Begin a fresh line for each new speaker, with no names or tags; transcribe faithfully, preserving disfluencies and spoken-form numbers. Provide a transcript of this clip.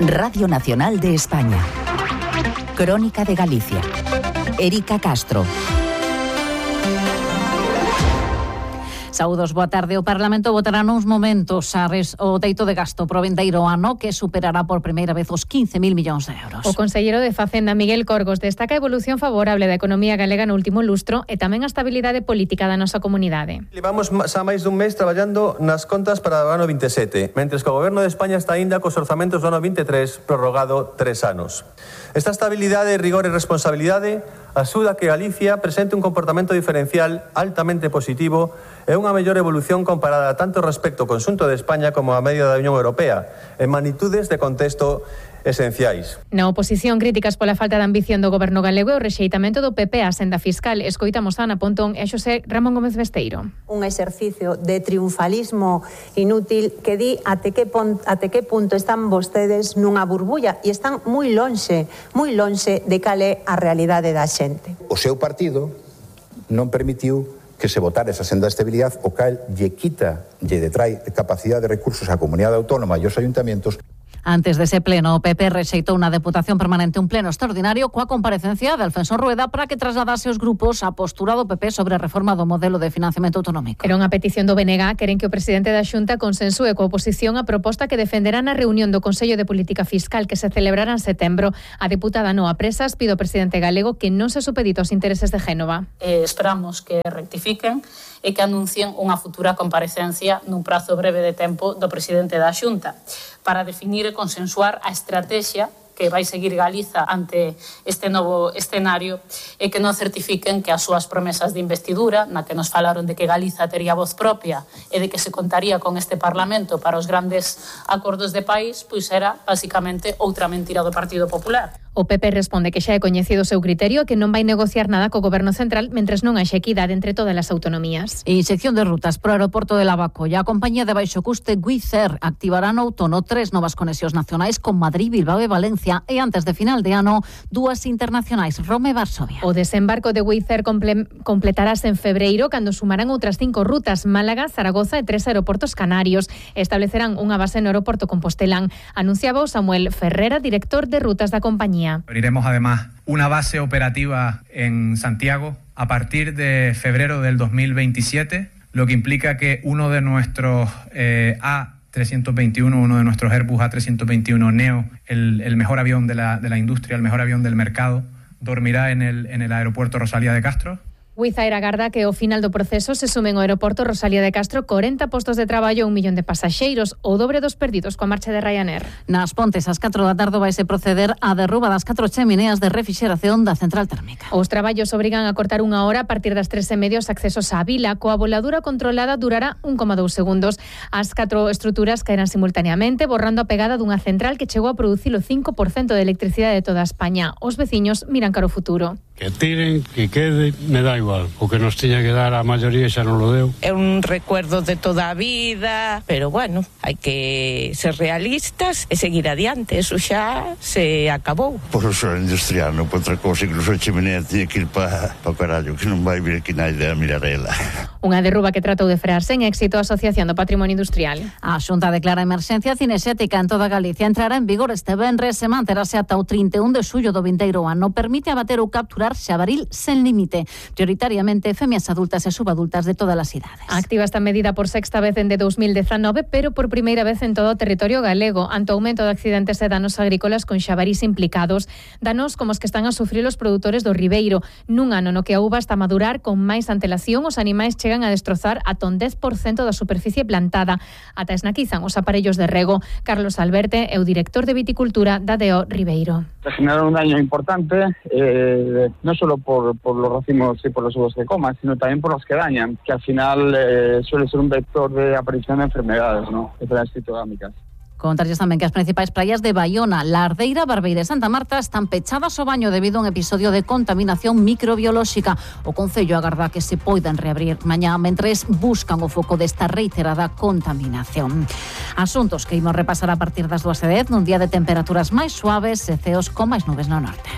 Radio Nacional de España. Crónica de Galicia. Erika Castro. Saúdos, boa tarde. O Parlamento votará nuns momentos a res, o teito de gasto pro vindeiro ano, que superará por primeira vez os quince mil millóns de euros.
O conselleiro de Facenda, Miguel Corgos, destaca a evolución favorable da economía galega no último lustro e tamén a estabilidade política da nosa comunidade.
Levamos xa máis dun mes traballando nas contas para o ano vinte e sete, mentres que o Goberno de España está aínda cos orzamentos do ano vinte e tres prorrogado tres anos. Esta estabilidade, rigor e responsabilidade axuda a que Galicia presente un comportamento diferencial altamente positivo e unha mellor evolución comparada tanto respecto ao conxunto de España como a media da Unión Europea, en magnitudes de contexto esenciais.
Na oposición, críticas pola falta de ambición do Goberno galego e o rexeitamento do P P á senda fiscal. Escoitamos a Ana Pontón e a Xosé Ramón Gómez Besteiro.
Un exercicio de triunfalismo inútil que di até que, pon, até que punto están vostedes nunha burbulla e están moi lonxe, moi lonxe de cal é a realidade da xente.
O seu partido non permitiu que se votara esa senda de estabilidade, o cal lle quita, lle detrae capacidade de recursos á comunidade autónoma e aos ayuntamientos.
Antes dese pleno, o P P rexeitou na Deputación Permanente un pleno extraordinario coa comparecencia de Alfonso Rueda para que trasladase aos grupos a postura do P P sobre a reforma do modelo de financiamento autonómico.
Era unha petición do B N G, queren que o presidente da Xunta consensúe coa oposición a proposta que defenderá na reunión do Consello de Política Fiscal que se celebrará en setembro. A deputada Noa Presas pide ao presidente galego que non se supedite aos intereses de Génova.
Eh, esperamos que rectifiquen e que anuncien unha futura comparecencia nun prazo breve de tempo do presidente da Xunta para definir e consensuar a estrategia que vai seguir Galiza ante este novo escenario e que non certifiquen que as súas promesas de investidura, na que nos falaron de que Galiza tería voz propia e de que se contaría con este Parlamento para os grandes acordos de país, pois era basicamente outra mentira do Partido Popular.
O P P responde que xa é coñecido o seu criterio e que non vai negociar nada co Goberno Central mentres non haxa equidade entre todas as autonomías.
En sección de rutas pro aeroporto de Lavacolla, a compañía de baixo custe Wizz Air activará no outono tres novas conexións nacionais con Madrid, Bilbao e Valencia e antes de final de ano dúas internacionais, Roma e Varsovia.
O desembarco de Wizz Air comple- completarase en febreiro cando sumarán outras cinco rutas, Málaga, Zaragoza e tres aeroportos canarios. Establecerán unha base no aeroporto Compostelán. Anunciaba o Samuel Ferrera, director de rutas da compañía.
Abriremos además una base operativa en Santiago a partir de febrero del dos mil veintisiete, lo que implica que uno de nuestros eh, A trescientos veintiuno, uno de nuestros Airbus A trescientos veintiuno Neo, el, el mejor avión de la, de la industria, el mejor avión del mercado, dormirá en el, en el aeropuerto Rosalía de Castro.
Wizz Air agarda que ao final do proceso se sumen ao aeroporto Rosalía de Castro corenta postos de traballo e un millón de pasaxeiros, o dobre dos perdidos coa marcha de Ryanair.
Nas Pontes, ás catro da tarde vaise proceder á derruba das catro chemineas de refrixeración da central térmica.
Os traballos obrigan a cortar unha hora a partir das tres e media os accesos á vila. Coa voladura controlada durará un coma dous segundos. As catro estruturas caerán simultaneamente, borrando a pegada dunha central que chegou a producir o cinco por cento de electricidade de toda España. Os veciños miran cara ao futuro.
Que tiren, que quede, me dá igual. O que nos tiña que dar a maioría xa non lo deu.
É un recuerdo de toda a vida, pero bueno, hai que ser realistas e seguir adiante. Eso xa se acabou.
Por o sol industrial, non por outra cosa, incluso a chimenea tiña que ir para pa carallo, que non vai vir aquí naide a mirar ela.
Unha derruba que tratou de frearse en éxito a Asociación do Patrimonio Industrial.
A Xunta declara emerxencia cinexética en toda Galicia. Entrará en vigor este venres e manterase ata o trinta e un de xullo do vindeiro ano. Permite abater ou capturar xabaril sen límite, prioritariamente femias adultas e subadultas de todas as idades.
Activa esta medida por sexta vez dende dos mil dezanove, pero por primeira vez en todo o territorio galego, ante o aumento de accidentes e danos agrícolas con xabarís implicados. Danos como os que están a sufrir os produtores do Ribeiro. Nun ano no que a uva está a madurar con máis antelación, os animais chegan a destrozar ata un dez por cento da superficie plantada. Ata esnaquizan os aparellos de rego. Carlos Alberte é o director de viticultura da D O Ribeiro.
Se genera un daño importante, eh, no solo por, por los racimos y por los uvos que coman, sino también por los que dañan, que al final eh, suele ser un vector de aparición de enfermedades, ¿no? Enfermedades fitogámicas.
Contarlles tamén que as principais praias de Baiona, Lardeira, Barbeira e Santa Marta están pechadas ao baño debido a un episodio de contaminación microbiolóxica. O Concello agarda que se poidan reabrir mañá mentres buscan o foco desta reiterada contaminación. Asuntos que imos repasar a partir das dúas e dez nun día de temperaturas máis suaves e ceos con máis nubes no norte.